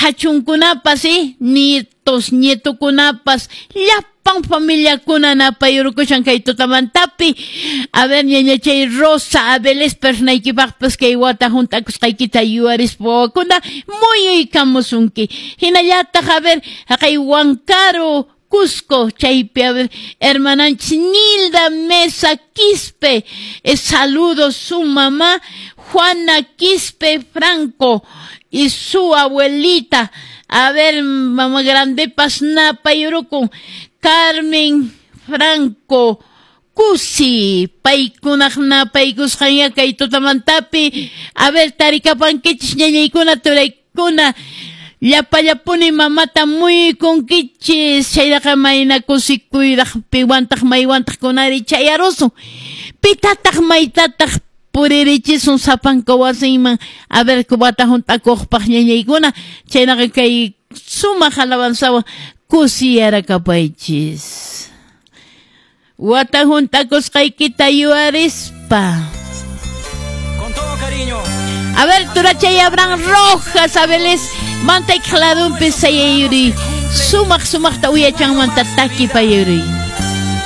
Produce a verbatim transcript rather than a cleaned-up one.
Qhachunkunapas, eh, nietos, nietokunapas, llapan familiakuna napayurukushan kay tutamantapi. A ver, ñañachay Rosa Abeles pernaykipaqpas kay wata hunt'akusqaykita yuyarispa wawakuna muyuykamusunki. Hinallataq, a ver, haqay Huancaro, Cusco, chaypi, a ver, hermananchis Nilda Mesa Quispe, eh, saludos su mamá Juana Quispe Franco y su abuelita, a ver, mamá grande pasnapayurukun, Carmen Franco Cusi, paykunaq napaykusqanya kay tutamantapi. A ver, tarikapankichis ñañaykuna, turaykuna, llapallapuni mamata muykunkichis, chayraqa mayna kusikuyraq piwantaq maywantaq kunari chayarusun, pitataq maytataq puririchisun sapanka wasinman, a ver, wata hunt'akuqpaq ñañaykuna, chaynaqa kay sumaq alabanzawan kusiyarakapaychis. Wata hunt'akusqaykita yuyarispa. Con todo cariño. A ver, turachay Abraham Rojas, Abeles, mantay kladunpi sayayuri. Sumaq sumaqta uyachanmanta takipayuri.